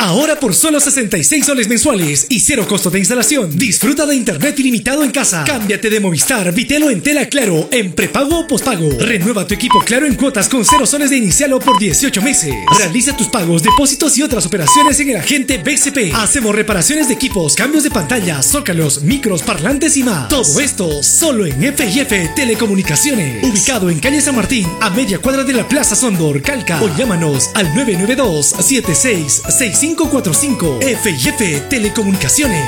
Ahora por solo 66 soles mensuales y cero costo de instalación. Disfruta de internet ilimitado en casa. Cámbiate de Movistar, Bitel o Entel a Claro en prepago o pospago. Renueva tu equipo Claro en cuotas con 0 soles de inicial o por 18 meses. Realiza tus pagos, depósitos y otras operaciones en el agente BCP. Hacemos reparaciones de equipos, cambios de pantalla, zócalos, micros, parlantes y más. Todo esto solo en F&F Telecomunicaciones. Ubicado en calle San Martín, a media cuadra de la Plaza Sondor, Calca. O llámanos al 992-766545. F&F Telecomunicaciones.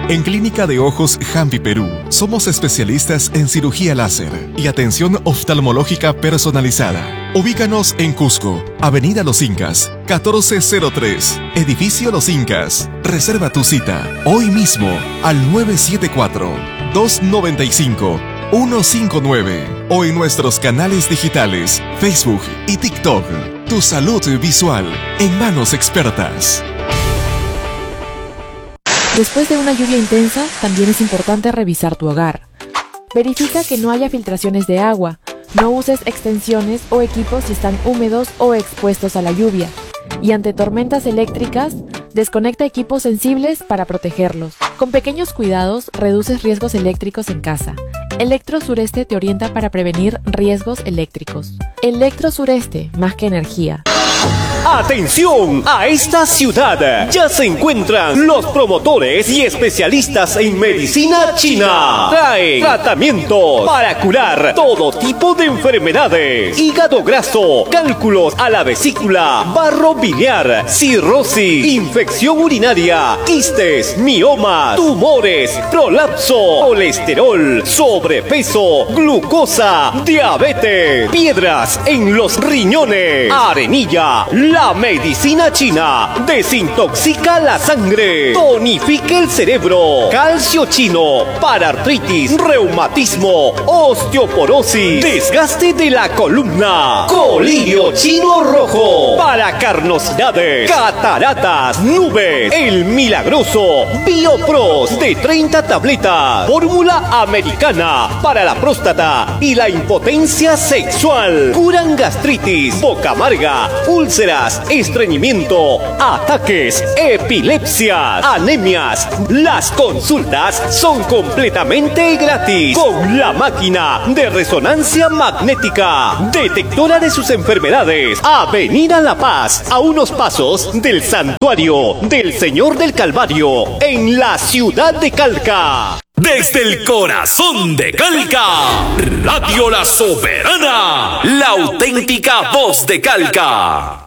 En Clínica de Ojos Jambi Perú, somos especialistas en cirugía láser y atención oftalmológica personalizada. Ubícanos en Cusco, Avenida Los Incas, 1403, Edificio Los Incas. Reserva tu cita hoy mismo al 974-295-159 o en nuestros canales digitales, Facebook y TikTok. Tu salud visual en manos expertas. Después de una lluvia intensa, también es importante revisar tu hogar. Verifica que no haya filtraciones de agua. No uses extensiones o equipos si están húmedos o expuestos a la lluvia. Y ante tormentas eléctricas, desconecta equipos sensibles para protegerlos. Con pequeños cuidados, reduces riesgos eléctricos en casa. Electro Sureste te orienta para prevenir riesgos eléctricos. Electro Sureste, más que energía. ¡Atención! A esta ciudad ya se encuentran los promotores y especialistas en medicina china. Traen tratamientos para curar todo tipo de enfermedades: hígado graso, cálculos a la vesícula, barro biliar, cirrosis, infección urinaria, quistes, miomas, tumores, prolapso, colesterol, sobrepeso, glucosa, diabetes, piedras en los riñones, arenilla. La medicina china desintoxica la sangre, tonifica el cerebro, calcio chino para artritis, reumatismo, osteoporosis, desgaste de la columna, colirio chino rojo para carnosidades, cataratas, nubes, el milagroso Biopros de 30 tabletas, fórmula americana para la próstata y la impotencia sexual, curan gastritis, boca amarga, úlceras, estreñimiento, ataques, epilepsias, anemias. Las consultas son completamente gratis con la máquina de resonancia magnética, detectora de sus enfermedades. Avenida La Paz, a unos pasos del Santuario del Señor del Calvario, en la ciudad de Calca. Desde el corazón de Calca, Radio La Soberana, la auténtica voz de Calca.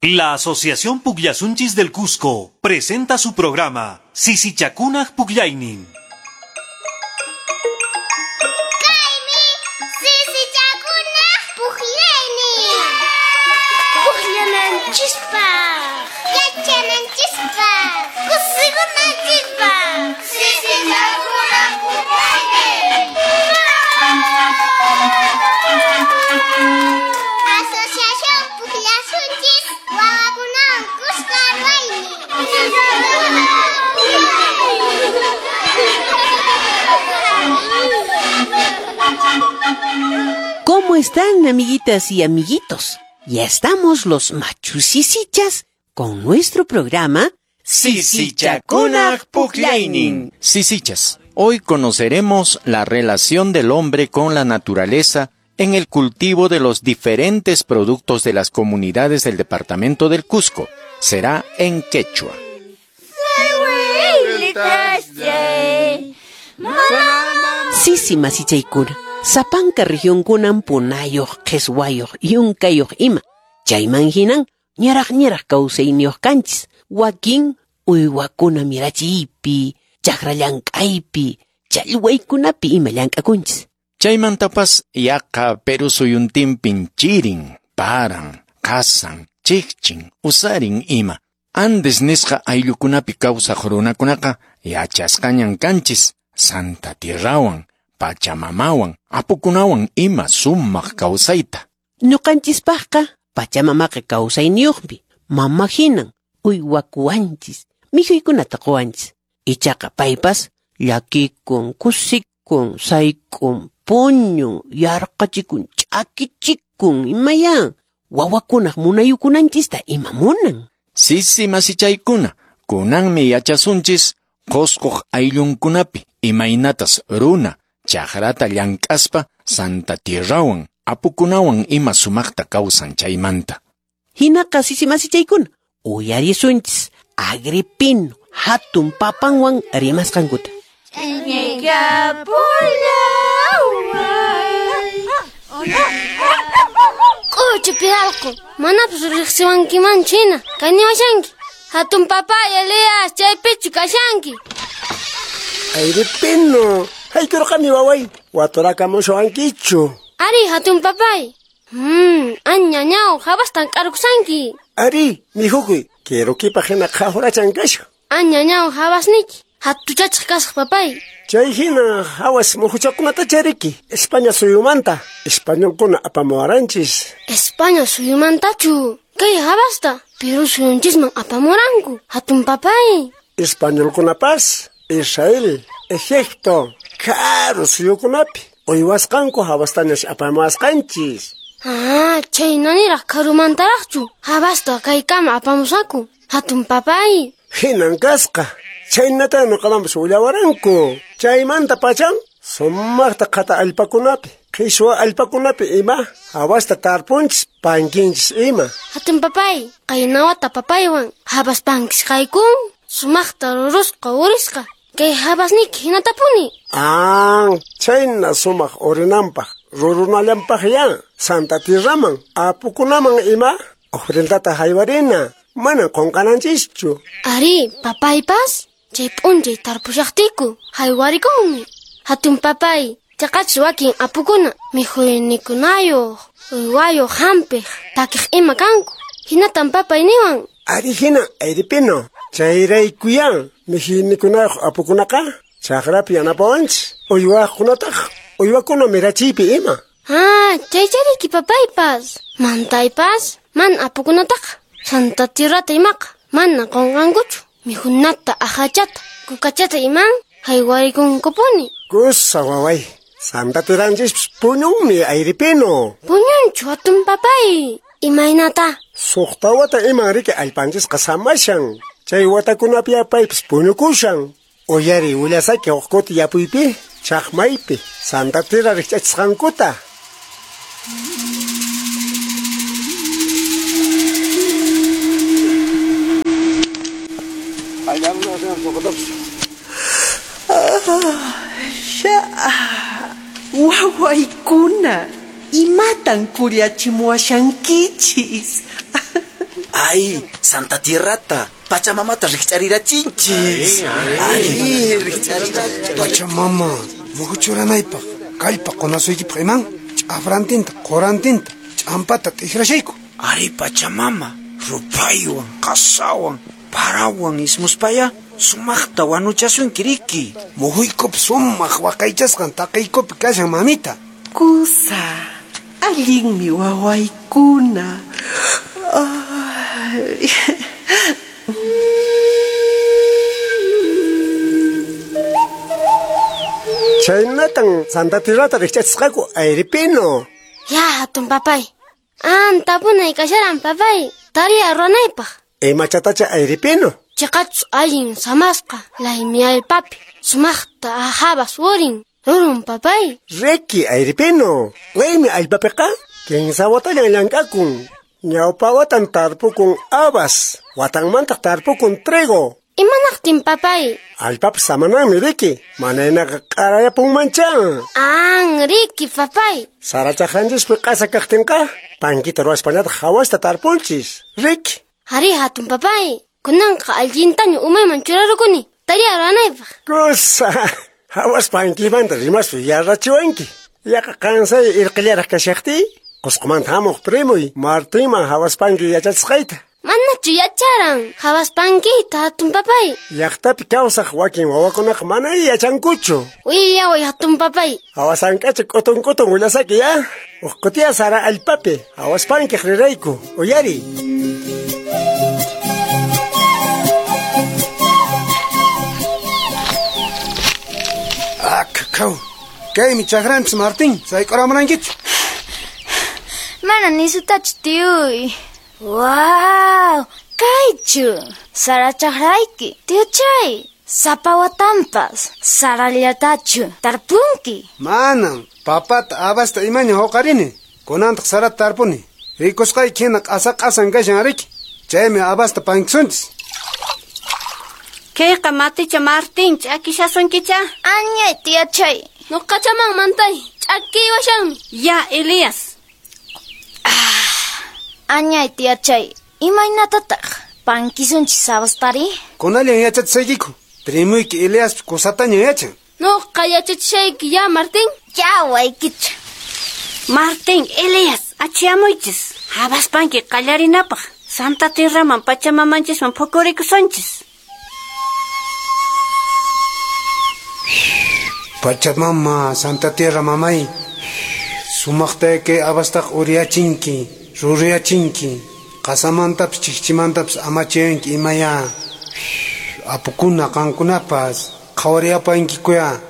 La Asociación Pugllasunchis del Cusco presenta su programa Sisichakunaj Pugllaynin. Kaymi Sisichakunaj Pugllaynin. Pugllananchispaq, yachananchispaq, kusikunanchispaq. Sisichakunaj Pugllaynin. Asociación Pugllasunchis wawakunawan kuska ruwaynin. ¿Cómo están, amiguitas y amiguitos? Ya estamos los machusisichas con nuestro programa Sisichakunaj Pukllaynin. Sisichas, hoy conoceremos la relación del hombre con la naturaleza en el cultivo de los diferentes productos de las comunidades del departamento del Cusco. Será en quechua. Sisi masichaykuna, sapanka regionkunan punayoq, qheswayoq, yunkayoq ima. Chayman hinan ñaraq ñaraq kawsayniyuq kanchis. Wakin uywakuna mirachiypi, chakra llank'aypi, challwaykunapi ima llank'akunchis. Chaymantapas yaqa Perú suyuntinpin chirin, paran, qasan, chikchin, usarin ima. Andes nisqa ayllukunapi kawsaq runakunaqa yachasqañan kanchis Santa Tierrawan, Pachamamawan, apukunawan ima sumaq kawsayta. Ñuqanchispaqqa Pachamamaqa kawsayniyuqmi, mama hinan uywakuwanchis, mikhuykunata quwanchis. Ichaqa paypas llakikun, kusikun, sayk'un, puñun, yarqachikun, ch'akichikun, imayan. Wawakunaq munayukunanchista ima munan. Sisi masichaykuna, kunanmi yachasunchis Qusquq ayllunkunapi imaynatas runa chakrata llank'aspa Santa Tierrawan apukunawan ima sumaqta kawsan chaymanta. Hinaqa sisi masichaykuna, uyarisunchis Agripino hatun papanwan rimasqankuta. K'uchupi allqu, manapas riqsiwankimanchu hina, kaniwashanki. Hatun papay Elias, chaypichu kashanki. Agripino, haykurqami waway, waturakamushawankichu. Ari, hatun papay. Añañaw, habastan k'arukusanki. Ari, mihukuy, kirukipaq hina qhawrachan kashan. Añañaw, habasniki, hatuchachaq kasaq papay. Chay hina hawas muhuchakunata chariki, España suyumanta, españolkuna apamuwaranchis. España suyumantachu, kay habasta, Perú suyunchisman apamuranku, hatun papay. Españolkunapas, Israel, Egipto, karu suyukunapi, uywasqanku habastañas apamuwasqanchis. Ah, chaynaniraq karumantaraqchu, habasta kaykama apamusaku, hatun papay. Hinan kasqa, chaynata nuqamanpas willawaranku. Chaymanta pachan, sumaqta qhata allpakunapi, qhichwa allpakunapi ima, hawasta tarpunchis, pankinchis ima. Hatun papay, qaynawata papaywan, habas pankisqaykun, sumaqta rurusqa urisqa, kay habasniki hinatapuni. Ah, chayna sumaq urinanpaq, rurunallanpaq ya, Santa Tierraman, apukunaman ima, ofrendata haywarina, mana qunqananchischu. Ari, papaypas, chay p'unchay tarpushaqtiku, haywarikunmi. Hatun papay, chaqachus wakin apukuna, mikhuynikunayuq, uywayuq hampiq, takiq ima kanku. Hinatan papay niwan. Ari hina, Agripino, chayraykuyan, mikhuynikunayuq apukunaqa, chakrapi yanapawanchis, uywaqkunataq, uywakuna mirachiypi ima. Ah, chaychariki papaypas, mantaypas, man apukunataqa, Santa Tierrata imaqa, mana qunqankuchu, mikhunata, ahachata, kukachata iman, haywaykunkupuni. Kusa waway, Santa Tierranchispas puñunmi, Agripino. Puñunchu hatun papay, imaynata? Suqta wata iman riki allpanchisqa samashan, chay watakunapi apaypas puñukushan. Uyari willasaki huk kuti yapuypi, chaqmaypi, Santa Tierra rikch'achisqankuta. Wawaykuna, imatan kullachimuwashankichis. Ay, Santa Tierrata, Pachamamata rikch'arirachinchis. Ay, rikch'arirachinchis. Pachamama, muhuchuranaypaq, kallpa qunasuykipaq iman, ch'afrantinta, qurantinta, ch'ampata t'ikrashayku. Ari, Pachamama, rupaywan, qasawan, parawan ismuspaya, sumaqta wanuchasunki riki. Muhuykupi sumaq waqaychasqan taqaykupi kashan mamita. Kusa, allinmi wawaykuna. Ay. Chaynatan Santa Tierrata rikch'achisqaku, Agripino. Ya, hatun papay. An tapunay kasharan papay, tariya ruwanaypaq. Imachatacha Agripino. Chaqachus allin samasqa, laymi allpapi, sumaqta ahabas urin, rurun papay. Riki, Agripino, laymi allpapiqa, kinsa watallan llank'akun. Ñawpa watan tarpukun habas, watanmantaq tarpukun trigo. Imanaqtin papay? Allpapas samananmi riki, manaynaqa q'arayapunmancha. An, riki papay. Sara chaqranchispi q'asa kaqtinqa, pankita ruwaspañataq hawasta tarpunchis, riki. Ari, hatun papay, kunanqa allintaña umayman churarukuni, tariya ruwanaypaq. Kusa, hawas pankimanta rimaspa yarrachiwanki. Yaqa qansay irqillaraq kashaqtiy, Qusqumanta hamuq primoy Martinman hawas panki yachachisqayta. Manachu yacharan hawas pankiyta hatun papay. Llaqtapi kawsaq wakin wawakunaqa mana yachankuchu. Willaway hatun papay. Hawas ank'acha k'utun k'utun willasaki ya. Huk kutiya sara allpapi hawas pankiq rirayku, uyari. Ah, kakaw. Kaymi chakranchis Martín, sayk'uramunankichu. Mana nisutachu tiyuy. Wow, kaychu. Sara chakrayki, tiyuchay. Sapa watanpas, sarallatachu tarpunki. Manam, papata habasta imaña huqarini. Kunantaq sarata tarpuni. Rikusqayki hina q'asa q'asan kashan riki. Chaymi habasta pankisunchis. Kayqa maticha Martín, ch'akishasunkicha? Añay tiyachay. Nuqachaman mantay, ch'akiywashanmi. Ya, Elías. Añay tiyachay, imaynatataq pankisunchis habastari? Kunallan yachachisaykiku. Primuyki Eliaspas kusataña yachan. Nuqa yachachishayki ya, Martín. Ya, waykicha. Martín, Elías, achiyamuychis. Habas panki qallarinapaq. Santa Tierraman Pachamamanchisman phukurikusunchis. Pachamama, Santa Tierra mamay. Sumaqta kay habastaq uriyachinki, ruriyachinki. Qasamantapas chikchimantapas amachayanki imaya. Apukuna qankunapas qhawariyapankikuya.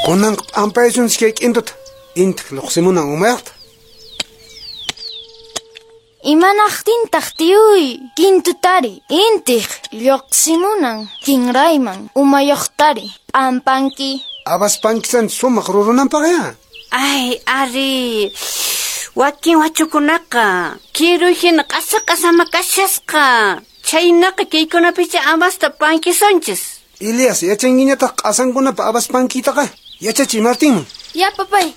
Kunanqa p'ampaysunchis kay k'intuta. Intiq lluqsimunan umayaqta. Imanaqtintaq tiyuy kintutari intiq lluqsimunan kinrayman umayuqtari p'ampanki. Habas pankisanchis sumaq rurunanpaqya. Ay, ari. Wakin wachukunaqa kiruy hina q'asa q'asama kashasqa. Chhaynaqa kaykunapicha habasta pankisunchis. Elias, yachankiñataq q'asankunapa habas pankiytaqa. Yachachiy Martinman. Ya, papay.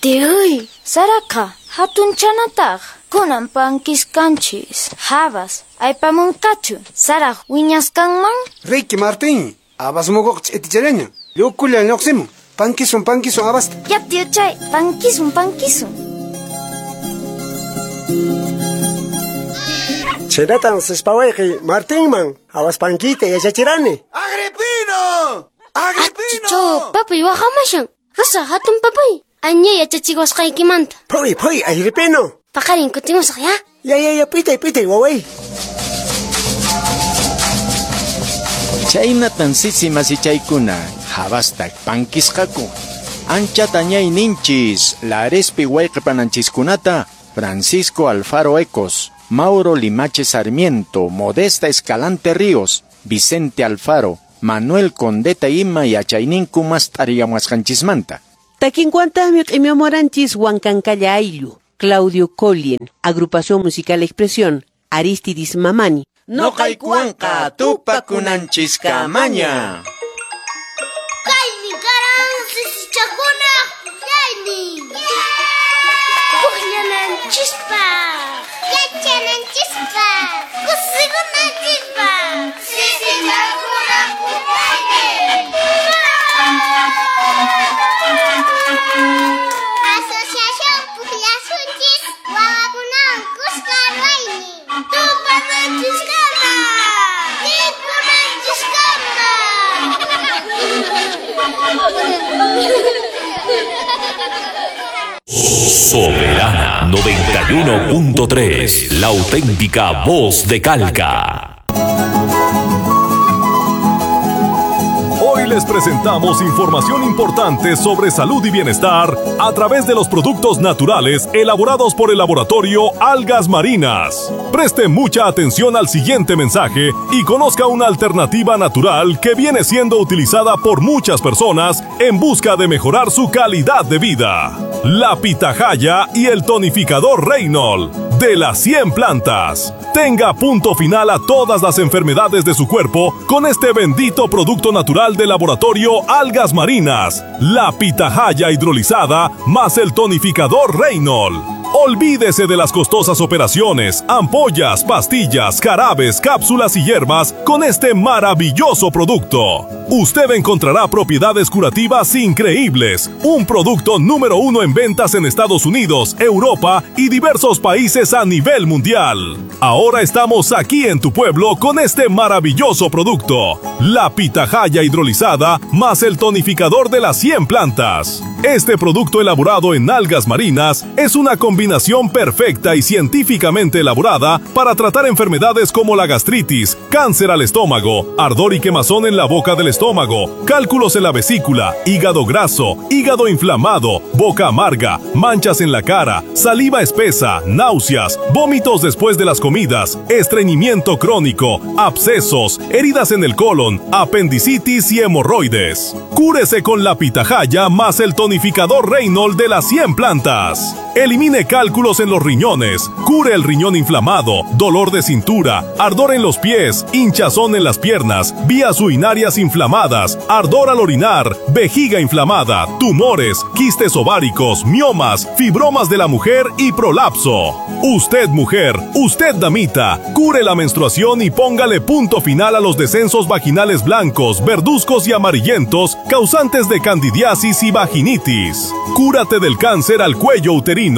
Tiyuy, saraqa hatunchanataq. Kunan pankisqanchis. Habas aypamunqachu saraq wiñasqanman? Riki, Martín. Habas muguqa ch'itichallaña. Llukullan lluqsimun. Pankisun, pankisun habasta. Ya, tiyuchay, pankisun, pankisun. Chhaynatan sispawayqi Martinman habas pankiyta yachachirani. ¡Agripino! ¡Agripino! Achicho, papay waqamashan. Rosa hatun papay. Añay yachachiwasqaykimanta. Phuy, phuy, Agripino. Paqarin kutimusaq, ya? Ya, ya, ya, pitay, pitay, waway. Chhaynatan sisi masichaykuna habasta pankisqaku. Anchata ñayninchis Larespi wayqipananchiskunata Francisco Alfaro Ecos, Mauro Limache Sarmiento, Modesta Escalante Ríos, Vicente Alfaro, Manuel Condeta ima yachayninku mast'ariyamuwasqanchismanta. Takinkuantaqmi q'imiamuwaranchis Huancancalla Ayllu, Claudio Collien, Agrupación Musical Expresión, Aristidis Mamani. Noqaykuwanqa tupakunanchiskamaña. Kaymi karan sisichakunaq pukllaynin. Pukllananchispaq, yachananchispaq, kusikunanchispaq. Sisichakunaq pukllaynin. Asociación Pukllasunchis wawakunawan kuska ruwaynin. Tupananchiskama, tinkunanchiskama. Soberana 91.3, la auténtica voz de Calca. Hoy les presentamos información importante sobre salud y bienestar a través de los productos naturales elaborados por el laboratorio Algas Marinas. Preste mucha atención al siguiente mensaje y conozca una alternativa natural que viene siendo utilizada por muchas personas en busca de mejorar su calidad de vida. La pitahaya y el tonificador Reynol de las 100 plantas. Tenga punto final a todas las enfermedades de su cuerpo con este bendito producto natural del laboratorio Algas Marinas, la pitahaya hidrolizada más el tonificador Reynol. Olvídese de las costosas operaciones, ampollas, pastillas, jarabes, cápsulas y hierbas con este maravilloso producto. Usted encontrará propiedades curativas increíbles. Un producto número 1 en ventas en Estados Unidos, Europa y diversos países a nivel mundial. Ahora estamos aquí en tu pueblo con este maravilloso producto. La pitahaya hidrolizada más el tonificador de las 100 plantas. Este producto elaborado en algas marinas es una combinación combinación perfecta y científicamente elaborada para tratar enfermedades como la gastritis, cáncer al estómago, ardor y quemazón en la boca del estómago, cálculos en la vesícula, hígado graso, hígado inflamado, boca amarga, manchas en la cara, saliva espesa, náuseas, vómitos después de las comidas, estreñimiento crónico, abscesos, heridas en el colon, apendicitis y hemorroides. Cúrese con la pitahaya más el tonificador Reynolds de las 100 plantas. Elimine cálculos en los riñones, cure el riñón inflamado, dolor de cintura, ardor en los pies, hinchazón en las piernas, vías urinarias inflamadas, ardor al orinar, vejiga inflamada, tumores, quistes ováricos, miomas, fibromas de la mujer y prolapso. Usted mujer, usted damita, cure la menstruación y póngale punto final a los descensos vaginales blancos, verduzcos y amarillentos causantes de candidiasis y vaginitis. Cúrate del cáncer al cuello uterino.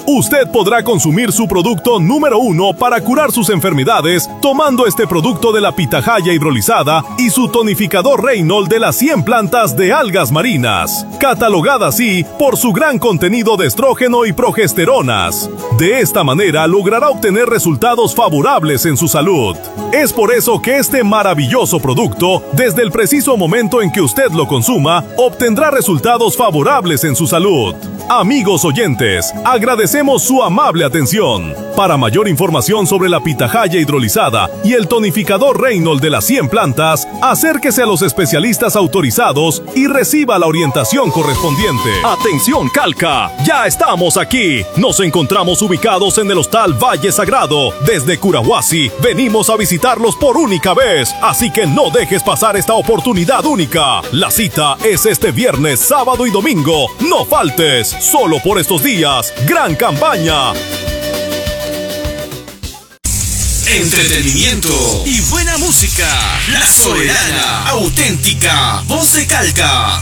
Usted podrá consumir su producto número 1 para curar sus enfermedades tomando este producto de la pitahaya hidrolizada y su tonificador Reynolds de las 100 plantas de algas marinas, catalogada así por su gran contenido de estrógeno y progesteronas. De esta manera logrará obtener resultados favorables en su salud. Es por eso que este maravilloso producto, desde el preciso momento en que usted lo consuma, obtendrá resultados favorables en su salud. Amigos oyentes, agradecemos su amable atención. Para mayor información sobre la pitahaya hidrolizada y el tonificador Reynolds de las 100 plantas, acérquese a los especialistas autorizados y reciba la orientación correspondiente. ¡Atención, Calca! ¡Ya estamos aquí! Nos encontramos ubicados en el Hostal Valle Sagrado. Desde Curahuasi, venimos a visitarlos por única vez, así que no dejes pasar esta oportunidad única. La cita es este viernes, sábado y domingo. ¡No faltes! Solo por estos días, gran campaña. Entretenimiento y buena música. La Soberana, auténtica, voz de Calca.